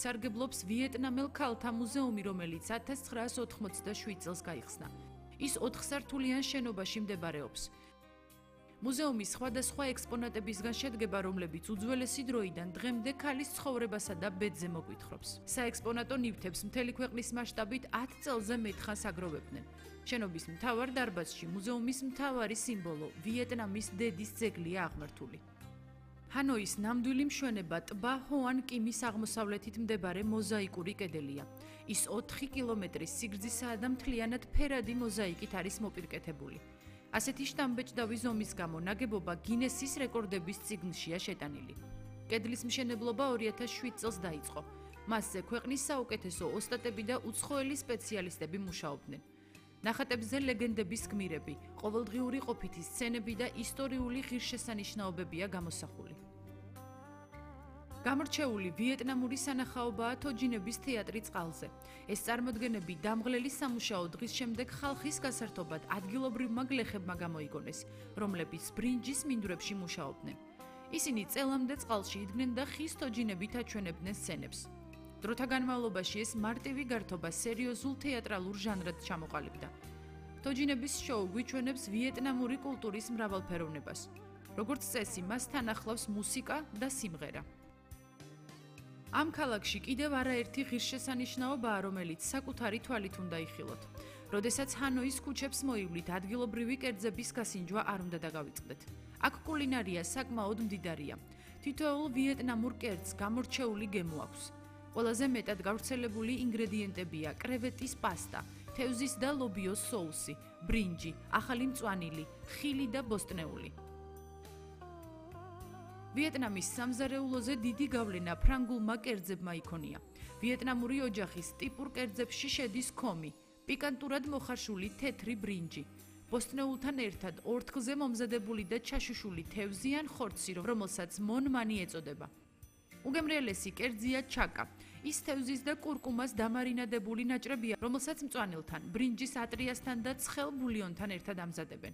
სარგებლობს ვიეტნამელ ქალთა მუზეუმი, რომელიც 1987 წელს გაიხსნა. ის 4 სართულიან შენობაში მდებარეობს. მუზეუმი სხვადასხვა ექსპონატებისგან შედგება, რომლებიც უძველესი დროიდან დღემდე ქალის ცხოვრებასა და ბედზე მოგვითხრობს. საექსპონატო ნივთებს მთელი ქვეყნის მასშტაბით 10 წელზე მეტხანს აგროვებდნენ. შენობის მთავარ დარბაზში მუზეუმის მთავარი სიმბოლო ვიეტნამის დედის ძეგლია აღმართული. ჰანოის ნამდვილი მშვენება ტბა ჰოან კიმის აღმოსავლეთით მდებარე მოზაიკური კედელია. ის 4 კილომეტრის სიგრძისაა და მთლიანად ფერადი მოზაიკით არის მოპირკეთებული. ასეთი შთამბეჭდავი ზომის გამო ნაგებობა გინესის რეკორდების წიგნშია შეტანილი. კედლის მშენებლობა 2007 წელს დაიწყო. მასზე ქვეყნის საუკეთესო ოსტატები და უცხოელი სპეციალისტები მუშაობდნენ. ნახატებზე ლეგენდების გმირები, ყოველდღიური ყოფითი სცენები და ისტორიული ღირსშესანიშნაობებია გამოსახული. გამორჩეული ვიეტნამური სანახაობაა თოჯინების თეატრი წყალზე. ეს წარმოდგენები დამღლელი სამუშაო დღის შემდეგ ხალხის გასართობად ადგილობრივმა გლეხებმა გამოიგონეს, რომლებიც ბრინჯის მინდვრებში მუშაობდნენ. ისინი წელამდე წყალში იდგნენ და ხის თოჯინებით აჩვენებდნენ სცენებს. დროთა განმავლობაში ეს მარტივი გართობა სერიოზულ თეატრალურ ჟანრად ჩამოყალიბდა. თოჯინების შოუ გვიჩვენებს ვიეტნამური კულტურის მრავალფეროვნებას. როგორც წესი, მას თან ახლავს მუსიკა და სიმღერა. ამ ქალაქში კიდევ არაერთი ღირსშესანიშნაობაა, რომელიც საკუთარი თვალით უნდა იხილოთ. როდესაც ჰანოის ქუჩებს მოივლით, ადგილობრივი კერძების გასინჯვა არ უნდა დაგავიწყდეთ. აქ კულინარია საკმაოდ მდიდარია. თითოეულ ვიეტნამურ კერძს გამორჩეული გემო აქვს. ყველაზე მეტად გავრცელებული ინგრედიენტებია კრევეტის პასტა, თევზის და ლობიოს соуსი, ბრინჯი, ახალი მწვანილი, ხილი და ბოსტნეული. ვიეტნამის სამზარეულოზე დიდი გავლენა ფრანგულმა კერძებმა იქონია. ვიეტნამური ოჯახის ტიპურ კერძებში შედის ქომი, პიკანტურად მოხარშული თეთრი ბრინჯი, ბოსტნეულთან ერთად ორთქლზე მომზადებული და ჩაშუშული თევზი ან ხორცი, რომელსაც მონმანი ეწოდება. უგემრიელესი კერძია ჩაკა. ის თევზის და კურკუმას დამარინადებული ნაჭრებია, რომელსაც მწვანილთან, ბრინჯის ატრიასთან და ცხელ ბულიონთან ერთად ამზადებენ.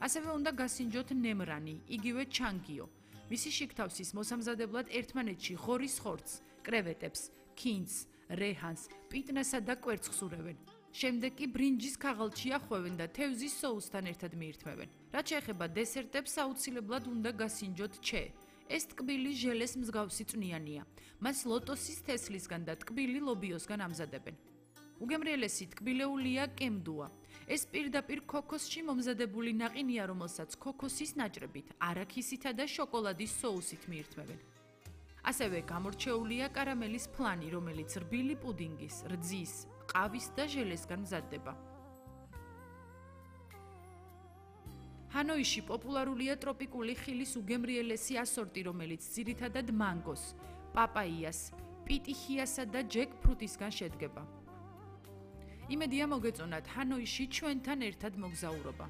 ასევე უნდა გასინჯოთ ნემრანი, იგივე ჩანგიო. მისი შიგთავსის მოსამზადებლად ერთმანეთში ღორის ხორცს, კრევეტებს, ქინძს, რეჰანს, პიტნასა და კვერცხს ურევენ. შემდეგ კი ბრინჯის ქაღალდში ახვევენ და თევზის соуსთან ერთად მიირთმევენ. რაც შეეხება დესერტებს, აუცილებლად უნდა გასინჯოთ ჩე. ეს ტკბილი ჟელეს მსგავსი წვნიანია. მას ლოტოსის თესლისგან და ტკბილი ლობიოსგან ამზადებენ. უგემრიელესი ტკბილეულია კემდუა. ეს პირდაპირ ქოქოსში მომზადებული ნაყინია, რომელსაც ქოქოსის ნაჭრებით, არაქისითა და შოკოლადის соуსით მიირთმევენ. ასევე გამორჩეულია კარამელის ფლანი, რომელიც რბილი პუდინგის, რძის, ყავის და ჟელესგან მზადდება. ჰანოიში პოპულარულია ტროპიკული ხილის უგემრიელესი ასორტი, რომელიც ძირითადად მანგოს, პაპაიას, პიტიხიასა და ჯეკფრუტისგან შედგება. იმედია მოგეწონათ ჰანოიში ჩვენთან ერთად მოგზაურობა.